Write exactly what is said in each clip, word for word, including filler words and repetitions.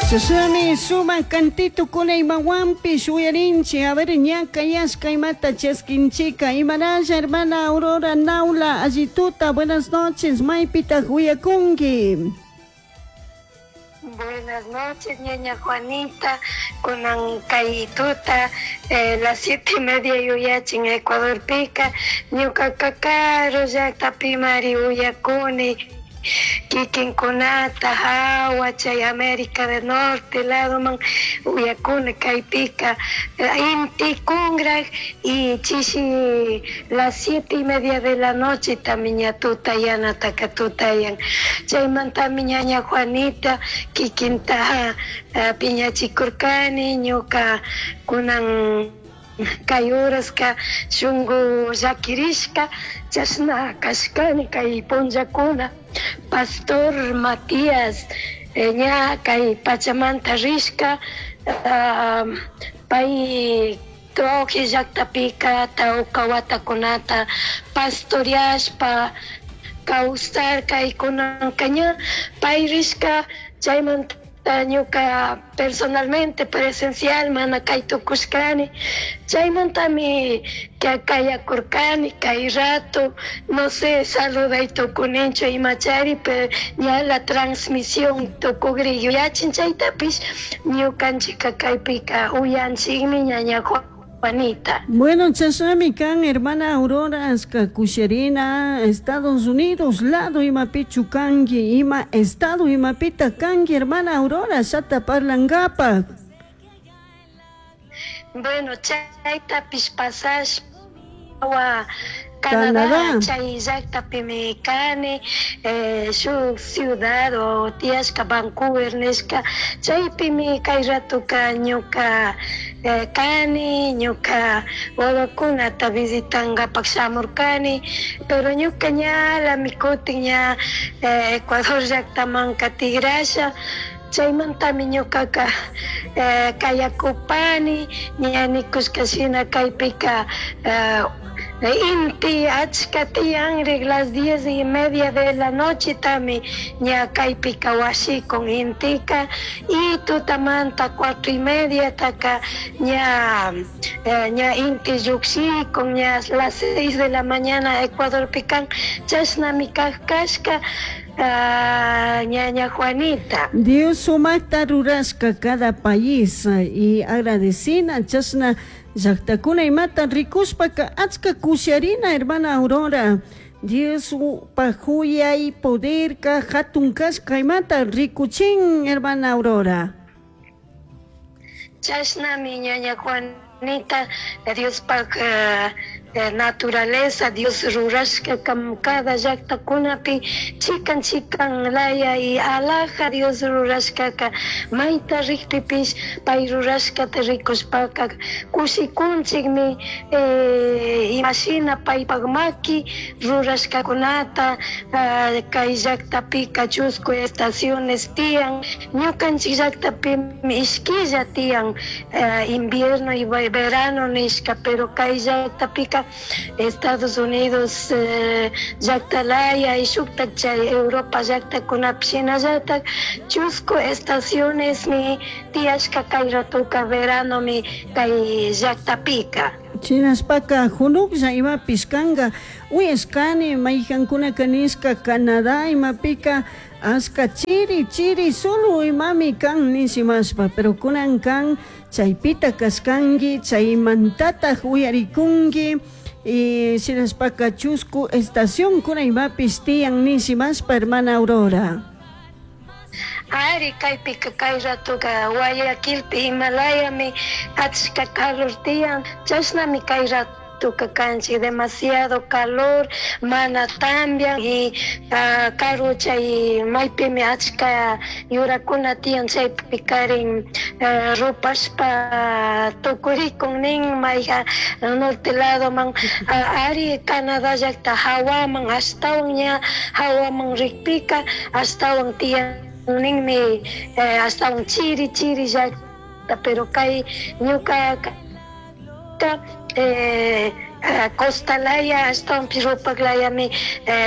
Chashnami sumak cantito imawanpish uyarinchik. A ver, ña kayashka imata chaskinchika. Imaralla, hermana Aurora Naula, allituta, buenas noches, maypitaq uyakunki? Buenas noches, ñaña Juanita, kunan kay tuta, eh, las siete y media yuyachin Ecuadorpika, ñuka karu llaqtapimari uyakuni, kikinkunata hawa chay América del Norte ladoman uyakuni kaypika, inti kungraj y chishi las siete y media de la noche tamiña tutayanataka tutayan, chaymantami ñaña Juanita kikinta uh, piñachikurkani ñuka kunan kay horaska shunku llakirishka chashna kashkani kay punllakuna. Pastor Matías eh, ña kay pachamanta rishka, uh, pay Troje llaqtapika tawka watakunata pastoreashpa kawsarka y kunanka ña pay rishka, chaymanta ñuka personalmente presencial mana kay tukushkani, chaymantami kayakurkani kay rato, no sé, saluday tukuninchu imachari, pero ña la transmisión tukugri yuyachin chaytapish ñukanchika kaypika uyanchikmi, ñaña Juanita. Bueno, chashnami kan, hermana Aurora, aska kusharina, Estados Unidos lado imapichu kanki, ima estado imapita kanki, hermana Aurora, shata parlankapaq. Bueno, chaytapish pasashpa Canadá, Canadá. Chay llaqtapimi kani, eh, shuk ciudad o tiyashka Vancouver nishka, chaypimi kay ratoka ñuka eh, kani, ñuka wawakunata visitangapak shamurkani, pero ñuka ñalami kutin ña eh, Ecuador llaqtamanka tigrasha, chaymantami ñukaka eh, kayakupani, ña nikushka shina kaypika eh, inti achka tiyanrik las diez y media de la noche tami ña kaypika washikun intika y tutamanta cuatro y media taka ña, eh, ña inti llukshikun ña las seis de la mañana Ecuadorpikan chashnami kak kashka, ah, ñaña Juanita. Dios sumakta rurashka cada país y agradecina chashna llaqtakuna imata rikushpaka achka kusharina, hermana Aurora. Dios pajuyay poderka hatun kashka imata rikuchin, hermana Aurora. Chashnami ñaña Juanita, Diospaj eh, eh, naturaleza, Dios rurashka kam cada llaqtakunapi chikan chikan laya y alaja Dios rurashkaka mayta rikpipish pay rurashkata rikushpaka kushikunchikmi, eh, imashina paypak maki rurashkakunata, ah, kay llaqtapika chusku estaciones tiyan, ñukanchik llaqtapimi ishkilla tiyan, eh, invierno y verano nishka, pero kay llaqtapika Estados Unidos eh, llaqtalaya y shuktak chay Europa llaqtakunapi shinallatak chusku estacionesmi tiyashka kay ratoka veranomi kay llaqtapika. Chinashpaka hunuklla imapish kanka uyashkani mayhankunaka nishka Canadá imapika ashka chiri chiri solo imami kan nishimashpa, pero kunan kan chaypita kashkanki chaymantataj uyarikunki y shinashpaka chusku estación kuna imapish tiyan nishimashpa, hermana Aurora. Ari kaypika kay ratoka Guayaquilpi Himalayami achka calor tiyan, chashnami kay ratoka kanchik demasiado calor, mana tambian y uh, karu chay maypimi achka yurakuna tiyan chaypi karin uh, rupashpa tukurikun nin mayja norte ladoman, uh, ari Canadá llaqta hawaman ashtawan ña hawaman rikpika ashtawan tiyan ninmi, eh, ashtawan chiri chiri llaqta, pero kay ñuka eh, Costalaya ashtawanpish rupaklayami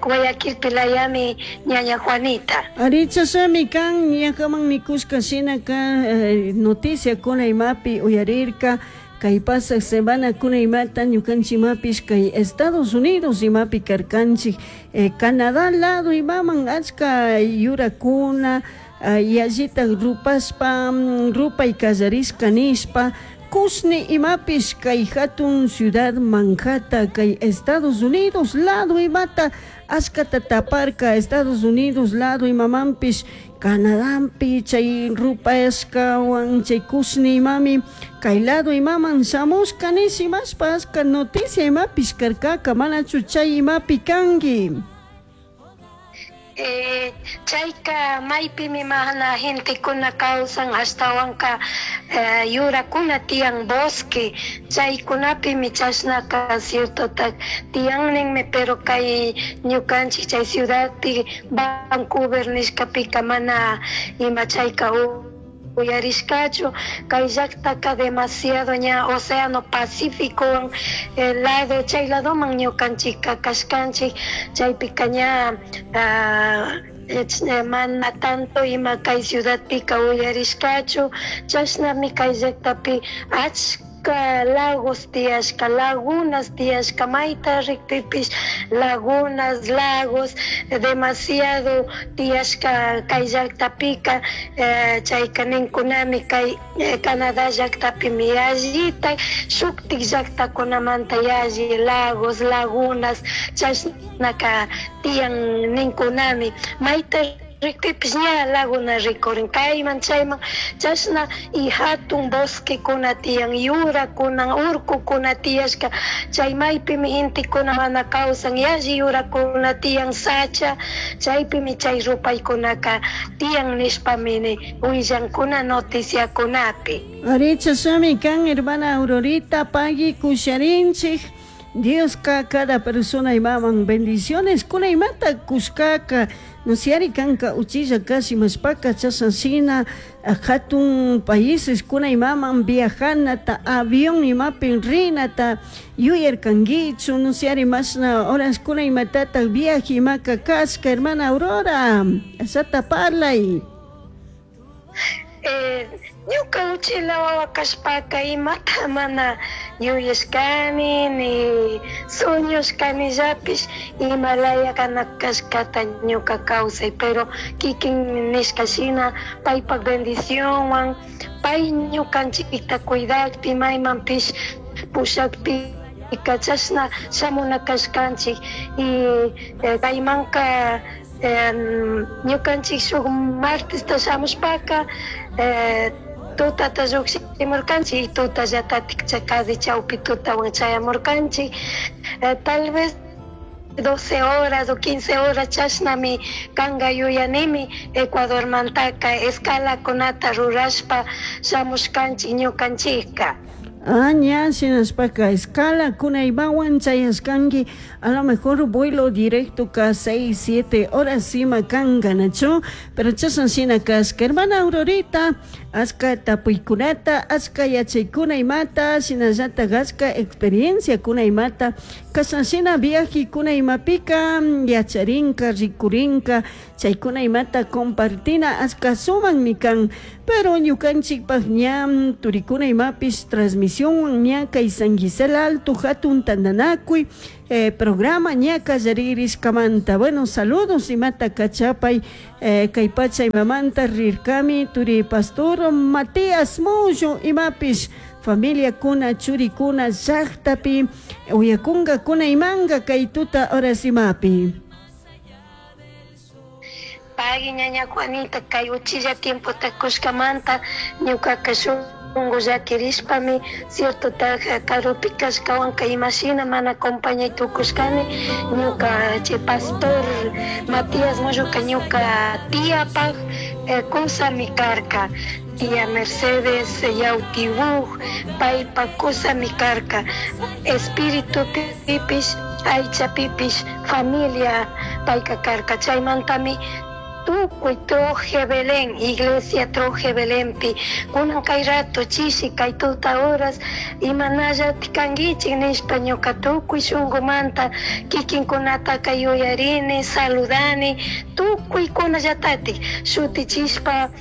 Guayaquilpilayami ñaña Juanita. Arichashami kan ñakaman nikushka shinaka noticiakuna imapi uyarirka kay pasaq semana kuna imata ñukanchik kay Estados Unidos imapi karkanchik eh, Canadá lado imaman achka yurakuna yallitak rupashpa rupay kallarishka nishpa kushni imapish kay hatun ciudad Manhattan kay Estados Unidos lado imata achkata taparka Estados Unidos lado imamanpish Canadampi chay rupashkawan chay kushni imami kay lado imaman shamushka nish imashpa achka noticia imapish karkaka manachu chay imapi kanki. Eh, chayka maypimi mana gentekuna kawsan ashtawanka eh, yurakuna tiyan bosque chaykunapimi chashnaka ciertotak tiyan ninmi pero kay ñukanchik chay ciudadpi Vancouver nishkapika mana ima chayka uyarishkachu kay llaqtaka demasiado ña océano Pacífico eh, lado chay ladoman ñukanchikka kashkanchik chaypika ña uh, mana tanto ima kay ciudadpika uyarishkachu chashnami kay llaqtapi achka lagos tiyashka lagunas tiyashka mayta rikpipish lagunas lagos demasiado tiyashka kay llaqtapika eh, chayka ninkunami kay eh, Canadá llaqtapimi yallita shuktik llaqtakunamanta yalli lagos lagunas chashnaka tiyan ninkunami mayta rikpipish ña laguna rikurin kayman chayman chashna y hatun bosquekuna tiyan yurakuna urkukuna tiyashka chay maypimi intikuna mana kawsan yalli yurakuna tiyan sacha chaypimi chay rupaykunaka tiyan nishpami willankuna noticiakunapi. Arichashami kan hermana Aurorita pagui kusharinchik Dioska cada persona imaman bendiciones kuna imata kushkaka nusiari kanka uchilla kashi mashpaka chashanshina hatun países kuna imaman viajanata avión imapin rinata yuyarkankichu nusiari mashna horas kuna imatata viaje imaka kashka hermana Aurora ashata parlay. Eh, ñuka uchila wawa kashpaka imata mana yuyashkani ni sueñoshkanillapish imalaya kana kashkata ñuka kawsay pero kikin nishka shina paypak bendicionwan pay ñukanchikta cuidakpi maymanpish pushakpi chashna shamuna kashkanchik y kaymanka ñukanchik shuk martesta shamushpaka eh, tutata lluqshimurkanchik y tutallatatik casi chawpi tutawan chayamurkanchik eh, tal vez doce horas o quince horas chashnami kanka yuyanimi Ecuadormantaka escalakunata rurashpa shamushkanchik ñukanchikka. Ah, ña, shinashpaka escala kunaymawan chayashkanki a lo mejor vuelo directo ka seis, siete horas ima kanka nachu pero chashan shina kashka hermana Aurorita achka tapuykunata achka yachaykuna imata shinallatak achka experiencia kuna imata kashan shina viaje kuna imapika yacharinka rikurinka chaykuna imata compartina achka sumakmi kan pero ñukanchikpak ña turikuna imapish transmisión ña kay San Gisela Alto hatun tantanakuy eh, programa ña kallaririshkamanta bueno saludos imata kachapay eh, kay pacha imamanta rirkami turi pastor Matías Mullo imapish familia kuna churikuna llaqtapi uyakunga kuna imanga kay tuta horas imapi. Pagui ñaña Juanita kay uchilla tiempota kushkamanta ñukaka shunku llakirishpami cierto karupi kashkawanka imashina mana acompañay tukushkani ñuka chay pastor Matías Mulluka ñuka tiapak eh, kusami karka tía Mercedes Yautibuj paypa kusami karka espíritu pipish aycha pipish familia payka karka chaymantami Tukuy Troje Belén, iglesia Troje Belenpi, kunan kay rato chishi kay tuta horas imanallatik kankichik nishpa ñuka tukuy shunkumanta kikinkunataka yuyarini, saludani, tukuykunallatatik shutichishpa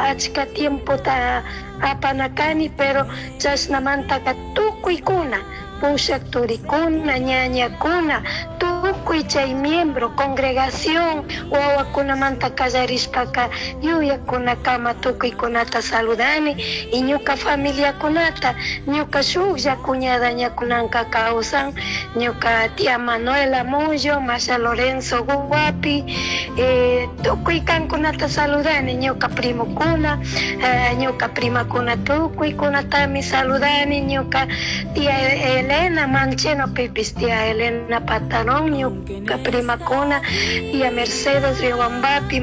achka tiempota apanakani, pero chashnamantaka tukuykuna pushak turikuna, ñañakuna, tukuy chay miembro, congregación, wawakunamanta kallarishpaka yuyakunakama tukuykunata saludani y ñuka familiakunata, ñuka shuklla cuñada ñakunanka kawsan, ñuka tía Manuela Mullo, Masha Lorenzo Guapi, eh, tukuy kankunata saludani, ñuka primokuna, eh, ñuka primakuna tukuykunatami saludani, ñuka tía Elena Mancheno pipis, tía Elena Patarón, ñuka primakuna, tía Mercedes Riobambapi,